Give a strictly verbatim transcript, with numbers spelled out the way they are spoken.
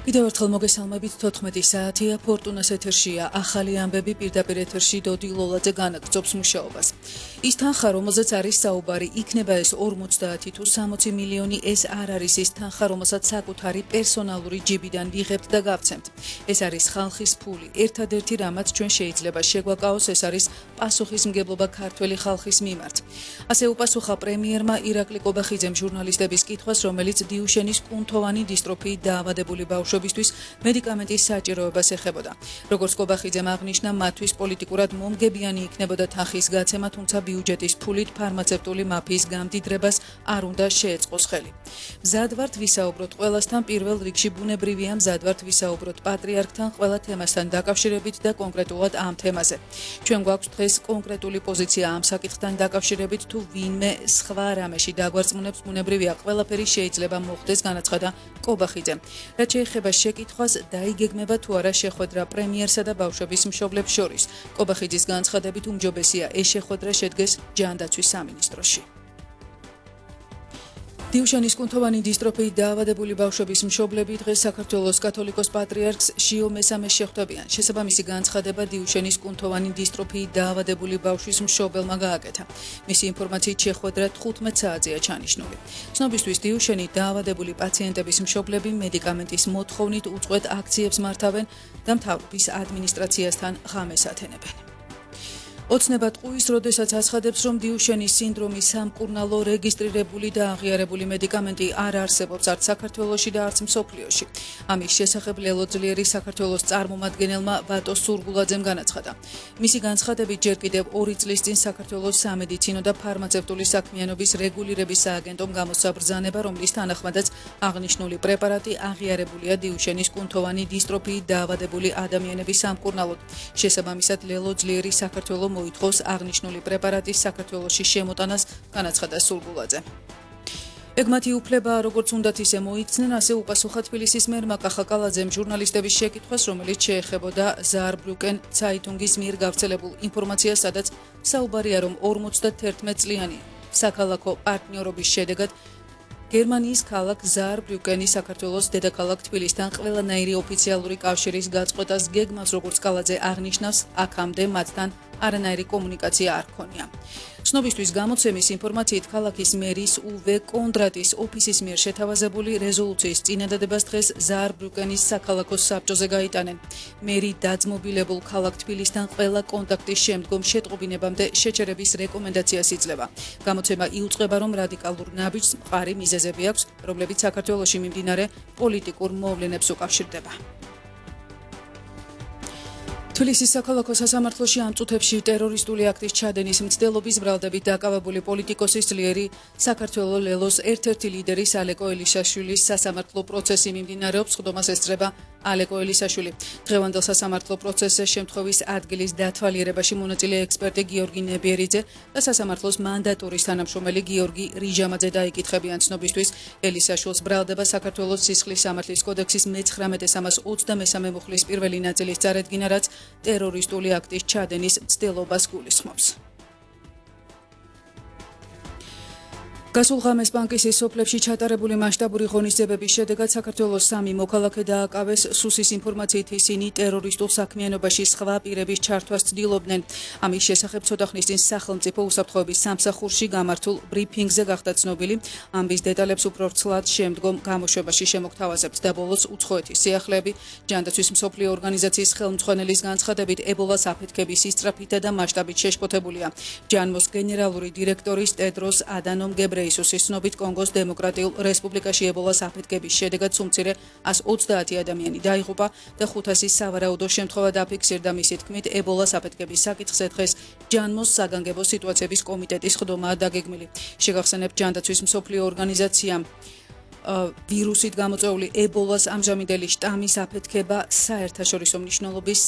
კიდევ ერთხელ მოგესალმებით თოთხმეტი საათია ფორტუნას ეთერშია ახალი ამბები პირდაპირ ეთერში დოდი ლოლაძე განაგრძობს მუშაობას. Ის თანხა, რომელზეც არის საუბარი, იქნება ეს ორმოცდაათი თუ სამოცი მილიონი, ეს არ არის ის თანხა, რომელსაც საკუთარი პერსონალური ჯიბიდან ვიღებთ და გავცემთ. ეს არის ხალხის ფული. ერთადერთი რამაც ჩვენ შეიძლება შეგვაკავოს, ეს არის პასუხისმგებლობა ქართველი ხალხის მიმართ. ასე უპასუხა პრემიერმა ირაკლი კობახიძემ ჟურნალისტების კითხვას, რომელიც დიუშენის კუნთოვანი დისტროფიით დაავადებული ბავშვებისთვის მედიკამენტის საჭიროებას ეხებოდა. როგორც კობახიძემ აღნიშნა, მათთვის პოლიტიკურად მომგებიანი იქნებოდა თანხის გაცემა, თუმცა ბიუჯეტის ფულით ფარმაცევტული მაფიის გამდიდრებას არ უნდა შეეწყოს ხელი. მზად ვართ ვისაუბროთ ყველასთან, პირველ რიგში ბუნებრივია მზად ვართ ვისაუბროთ პატრიარქთან ყველა თემასთან დაკავშირებით და კონკრეტულად ამ თემაზე. ჩვენ გვაქვს დღეს კონკრეტული პოზიცია ამ საკითხთან დაკავშირებით, თუ ვინმე სხვა რამეში დაგვარწმუნებს, ბუნებრივია ყველაფერი შეიძლება მოხდეს, განაცხადა კობახიძემ. რაც შეეხება შეკითხვას, დაიგეგმება თუ არა შეხვედრა პრემიერსა და ბავშვების მშობლებს შორის. კობახიძის განცხადებით უმჯობესია ეს შეხვედრა შედგეს ჯანდაცვის სამინისტროში. დიუშენის კუნთოვანი დისტროფიით დაავადებული ბავშვების მშობლები დღეს საქართველოს კათოლიკოს პატრიარქს შიო მესამეს შეხვდებიან. შესაბამისი განცხადება დიუშენის კუნთოვანი დისტროფიით დაავადებული ბავშვის მშობელმა გააკეთა. მისი ინფორმაციით შეხვედრა თხუთმეტ საათზეა ჩანიშნული. ცნობისთვის დიუშენით დაავადებული პაციენტების მშობლები მედიკამენტის მოთხოვნით უწყვეტ აქციებს მართავენ და მთავრობის ადმინისტრაციასთან ღამეს ათენებენ. ოცნება ტყუის, როდესაც აცხადებს, რომ დიუშენის სინდრომის სამკურნალო რეგისტრირებული და აღიარებული მედიკამენტი არ არსებობს არც საქართველოში და არც მსოფლიოში. ამის შესახებ ლელოძლიერი საქართველოს წარმომადგენელმა ვატო სურგულაძემ განაცხადა. მისი განცხადებით ჯერ კიდევ ორი წლის წინ საქართველოს სამედიცინო და ფარმაცევტული საქმიანობის რეგულირების სააგენტომ გამოსცა ბრძანება, რომლის თანახმადაც აღნიშნული პრეპარატი აღიარებულია დიუშენის კუნთოვანი დისტროფიით დაავადებული ადამიანების სამკურნალოდ. შესაბამისად ლელოძლიერი საქართველოს მოითხოვს აღნიშნული პრეპარატის საქართველოში შემოტანას, განაცხადა სურგულაძე. ეგმათი უფლება როგორც უნდათ ისე მოიქცნენ, ასე უპასუხა თბილისის მერმა კახაკალაძემ ჟურნალისტების შეკითხვას, რომელიც შეეხებოდა ზაარბრუკენ ცაიტუნგის მიერ გავრცელებულ ინფორმაციას, სადაც საუბარია, რომ ორმოცდათერთმეტ წლიანი საქალაქო პარტნიორობის შედეგად გერმანიის ქალაქ ზაარბრუკენი საქართველოს დედაქალაქ თბილისთან ყველანაირი ოფიციალური კავშირის გაწყვეტას გეგმავს, როგორც კალაძე აღნიშნავს, აქამდე მათთან არანაირი კომუნიკაცია არ ჰქონია. ცნობისთვის გამოცემის ინფორმაციით ქალაქის მერის უვე კონდრატის ოფისის მიერ შეთავაზებული რეზოლუციის წინადადებას დღეს ზაარბრუკენის საქალაქო საბჭოზე გაიტანენ. მერი დაძმობილებულ ქალაქ თბილისთან ყველა კონტაქტის შემდგომ შეტყობინებამდე შეჩერების რეკომენდაციას იძლევა. გამოცემა იუწყება, რომ რადიკალურ ნაბიჯს მყარი მიზეზები აქვს, რომლებიც საქართველოში მიმდინარე პოლიტიკურ მოვლენებს უკავშირდება. თბილისის საქალაქო სასამართლოში ამ წუთებში ტერორისტული აქტის ჩადენის მცდელობის ბრალდებით დაკავებული პოლიტიკოსის ძლიერი საქართველოს ლელოს ერთ-ერთი ლიდერის ალეკო ელისაშვილის სასამართლო პროცესი მიმდინარეობს, ხდომას ესწრება ალეკო ელისაშვილი. დღევანდელ სასამართლო პროცესზე შემთხვევის ადგილის დათვალიერებაში მონაწილე ექსპერტი გიორგი ნებიერიძე და სასამართლოს მანდატურის თანამშრომელი გიორგი რიჟამაძე დაიკითხებიან. ცნობისთვის ელისაშვილს ბრალდება საქართველოს სისხლის სამართლის კოდექსის მეცხრამეტე სამას ოცდამესამე მუხლის პირველი ნაწილის წარედგინა, რაც ტერორისტული აქტის ჩადენის მცდელობას გულისხმობს. გასულ ღამეს ბანკის სოფლებში ჩატარებული მასშტაბური ღონისძიებების შედეგად საქართველოს სამი მოქალაქე დააკავეს. სუსის ინფორმაციით ისინი ტერორისტულ საქმიანობაში სხვა პირების ჩართვას ცდილობდნენ. ამის შესახებ ცოტა ხნის წინ სახელმწიფო უსაფრთხოების სამსახურში გამართულ ბრიფინგზე გახდა ცნობილი. ამბის დეტალებს უფრო ვრცლად შემდგომ გამოშვებაში შემოგთავაზებთ და ბოლოს უცხოეთის სიახლეები. ჯანდაცვის მსოფლიო ორგანიზაციის ხელმძღვანელის განცხადებით ებოლას აფეთქების ისწრაფითა და მასშტაბით შეშფოთებულია. ჯანმოს გენერალური დირექტორის ტედროს ადანომ გებრეისუსის ცნობით კონგოს დემოკრატიულ რესპუბლიკაში ებოლას აფეთქების შედეგად სულ ას ოცდაათი ადამიანი დაიღუპა და ხუთასი სავარაუდო შემთხვევა დაფიქსირდა. მისი თქმით, ებოლას აფეთქების საკითხზე დღეს ჯანმოს საგანგებო სიტუაციების კომიტეტის ხდომაა დაგეგმილი. შეგახსენებთ, ჯანდაცვის მსოფლიო ორგანიზაციამ ვირუსით გამოწვეული ებოლას ამჟამინდელი შტამის აფეთქება საერთაშორისო მნიშვნელობის